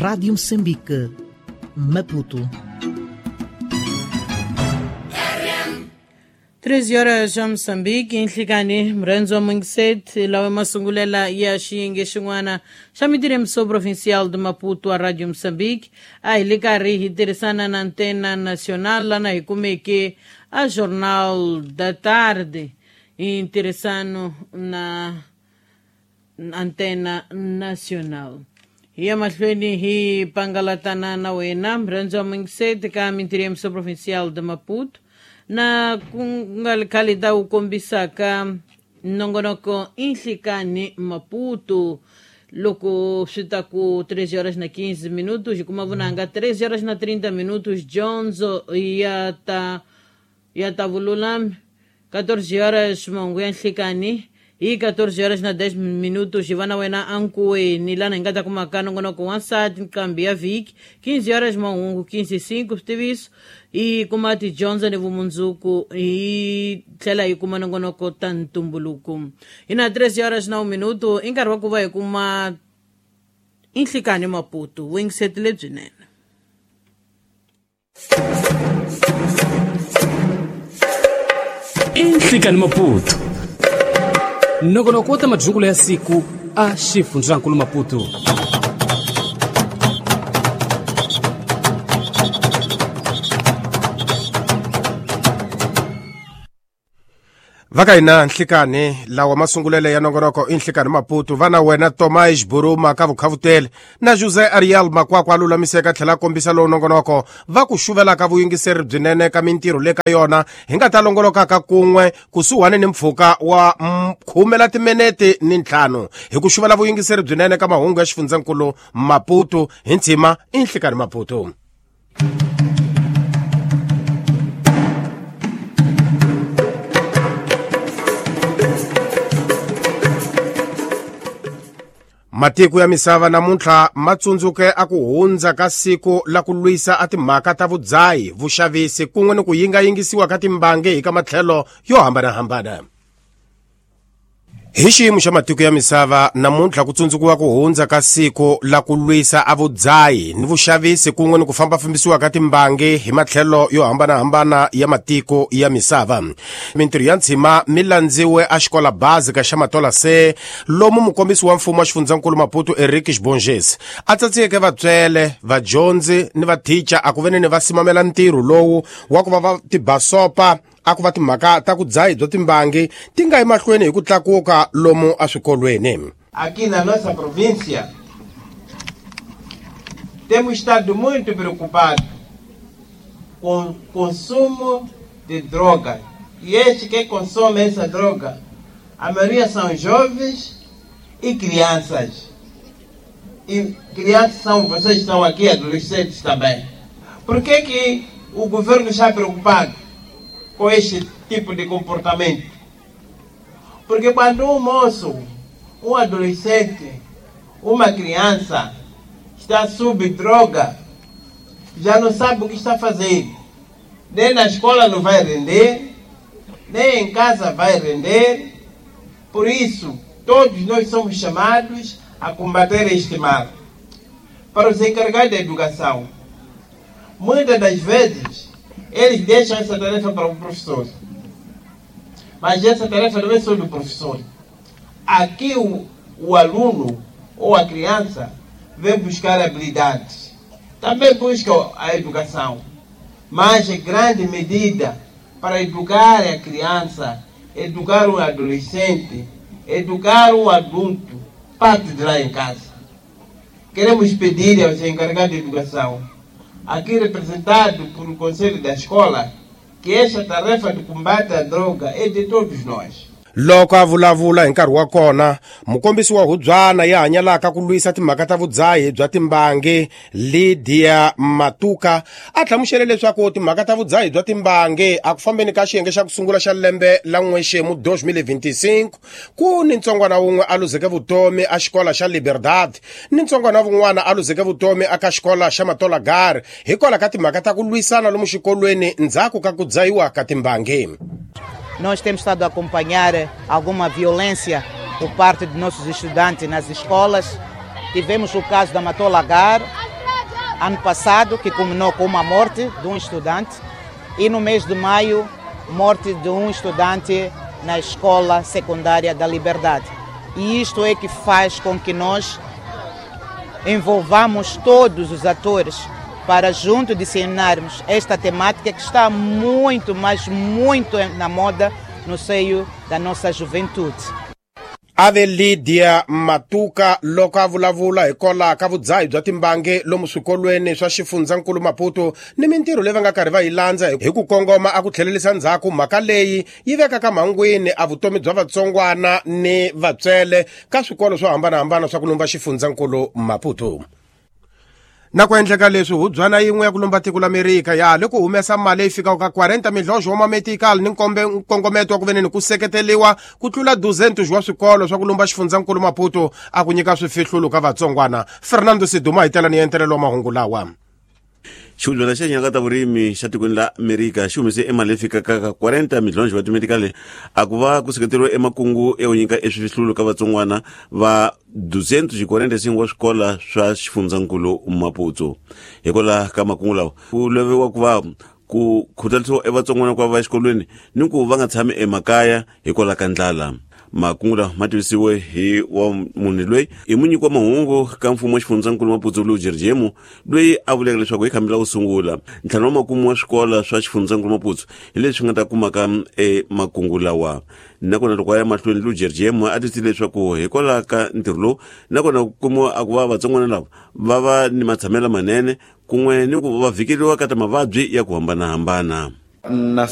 Rádio Moçambique, Maputo. 13 horas ya Moçambique nhlikani murhandzi wa mungiseti lawa masungulela ya xiyenge xin'wana xa mitirhemiso provincial de Maputo a Radio Moçambique. A hi le karhi hi tirhisana na Antena Nacional lana hi kumeke a Jornal da Tarde hi ntirhisano na Antena Nacional. Hi ya mahlweni hi pangalatana na wena murhandzi wa mungiseti ka mitirhemiso provincial de Maputo na ku nga ri khale ta wu kombisaka nongonoko inhlikani Maputo loko swi ta ku 3 horas na 15 minutos hi kuma vunanga 3 horas na 30 minutos dyondzo ya ta vululami 14 horas mahungu ya nhlikani hi 14 horas na 10 minutos hi va na wena ankuweni lana hi nga ta kumaka nongonoko wa nsati nqambi ya vhiki 15 horas mahungu 15 switiviso hi kuma tidyondzo ni vumundzuku hi tlhela hi kuma nongonoko ta ntumbuluko. Hi na 3 horas na 1 minuto i nkarhi wa ku va hi kuma inhlikani Maputo vuyingiseti lebyinene. Inhlikani Maputo nongonoko wa ta madyukulo ya siku a xifundzankulu Maputo. Va ka hina nhlikani lawa masungulele ya nongonoko i nhlikani Maputo va na wena Tomás Buruma ka vukhavutele na José Ariel Makwakwa a lulamiseka tlhela a kombisa lowu nongonoko va ku xuvelaka vuyingiseri byinene ka mintirho le ka yona hi nga ta longolokaka kun'we kusuhani ni mpfhuka wa khume la timinete ni ntlhanu hi ku xuvela vuyingiseri byinene ka mahungu ya xifundzankulu Maputo hi ntshima i nhlikani Maputo. Matiko ya misava namuntlha ma tsundzuke a ku hundza ka siku la ku lwisa a timhaka ta vudzahi, vuxavisi kun'we ni ku yingayingisiwa ka timbangi hi ka matlhelo yo hambanahambana. Hi xiyimo xa matiko ya misava namuntlha ku tsundzukiwa ku hundza ka siku la ku lwisa a vudzahi ni vuxavisi kun'we ni ku fambafambisiwa ka timbangi hi matlhelo yo hambanahambana ya matiko ya misava. Mintirho ya ntshima mi landziwe a xikola bazi ka xa Matola se lomu mukombisi wa mfumo wa xifundzankulu Maputo Eric Xibonges a tsatsiyeke vatswele, vadyondzi ni vathicha a ku veni ni va simamela ntirho lowu wa ku va va tibasopa a ku va timhaka ta ku dzahi bya timbangi ti nga emahlweni hi ku tlakuka lomu eswikolweni. Aqui na nossa província temos estado muito preocupados com o consumo de droga. E este que consome essa droga, a maioria são jovens e crianças. E crianças são, vocês estão aqui, adolescentes também. Por que que o governo está preocupado com este tipo de comportamento? Porque quando um moço, um adolescente, uma criança está sob droga, já não sabe o que está fazendo. Nem na escola não vai render, nem em casa vai render. Por isso, todos nós somos chamados a combater este mal. Para os encarregados da educação, muitas das vezes, eles deixam essa tarefa para o professor. Mas essa tarefa não é só do professor. Aqui o aluno ou a criança vem buscar habilidades. Também busca a educação. Mas em grande medida, para educar a criança, educar um adolescente, educar um adulto, parte de lá em casa. Queremos pedir aos encarregados de educação, aqui representado por o Conselho da Escola, que esta tarefa de combate à droga é de todos nós. Loko a vulavula hi nkarhi wa kona, mukombisi wa hubyana ya hanyalaka ku lwisa timhaka ta vudzahi bya timbangi Lydia Matuka a hlamusele leswaku timhaka ta vudzahi bya timbangi a ku fambeni ka xiyenge xa ku sungula xa lembe la n'wexemu 2025 ku ni ntsongwana wun'we a luzeke vutomi a xikola xa Liberdade ni ntsongwana wun'wana a luzeke vutomi aka xikola xa Matolagari hikwalaho ka timhaka ta ku lwisana lomu xikolweni ndzhaku ka ku dzahiwa ka timbangi. Nós temos estado a acompanhar alguma violência por parte de nossos estudantes nas escolas. Tivemos o caso da Matola Gar, Ano passado, que culminou com uma morte de um estudante, e no mês de maio, morte de um estudante na Escola Secundária da Liberdade. E isto é que faz com que nós envolvamos todos os atores para junto disseminarmos esta temática que está muito, mas muito na moda no seio da nossa juventude. Ave Lydia Matuka loko a vulavula hikwalaho ka vudzahi bya timbangi lomu swikolweni swa xifundzankulu Maputo ni mintirho leyi va nga karhi va yi landza hi ku kongoma a ku tlhelerisa ndzhaku mhaka leyi yi vekaka mhangwini a vutomi bya vatsongwana ni vatswele ka swikolo swo hambanahambana swa ku lumba xifundzankulu Maputo. Na ku endleka leswi hubyana yin'we ya ku lumba tiko la Amerika ya le ku humesa mali leyi fikaka ka 40 milhonxo wa mametical ni nkongometo wa ku veneni ku seketeliwa ku tlula 200 wa swikolo swa ku lumba xifundzankulu Maputo a ku nyika swifihlulo ka vatsongwana. Fernando Siduma hi tela ni entelelo wa mahungu lawa. Xihundla xa nyaka ta vurimi xa tikweni la Amerika xi humese emali leyi fikaka ka 40 milhonxo wa timedikali a ku va ku seketeriwa emakungu ya ku nyika eswifihlulo ka vatsongwana va 245 wa swikola swa xifundzankulu Maputo. Hikwalaho ka makungu lawa ku laviwa ku va ku khutalisiwa evatsongwana ku va va exikolweni ni ku va nga tshami emakaya hikwalaho ka ndlala. Makungu lawa ma tivisiwe hi wa munhu loyi i munyiki wa mahungu ka mfumo wa xifundzankulu Maputo Lu Jerjemu loyi a vuleke leswaku hi khambi la ku sungula ntlhanu wa makumu wa swikola swa xifundzankulu Maputo hi leswi nga ta kumaka emakungu lawa. Nakona loko a ya mahlweni Lu Jerjemu a tisile leswaku hikwalaho ka ntirho lowu nakona ku kumiwa a ku va vatsongwana lava va va ni matshamelo manene kun'we ni ku va vhikeriwa ka ta mavabyi ya ku hambanahambana. Na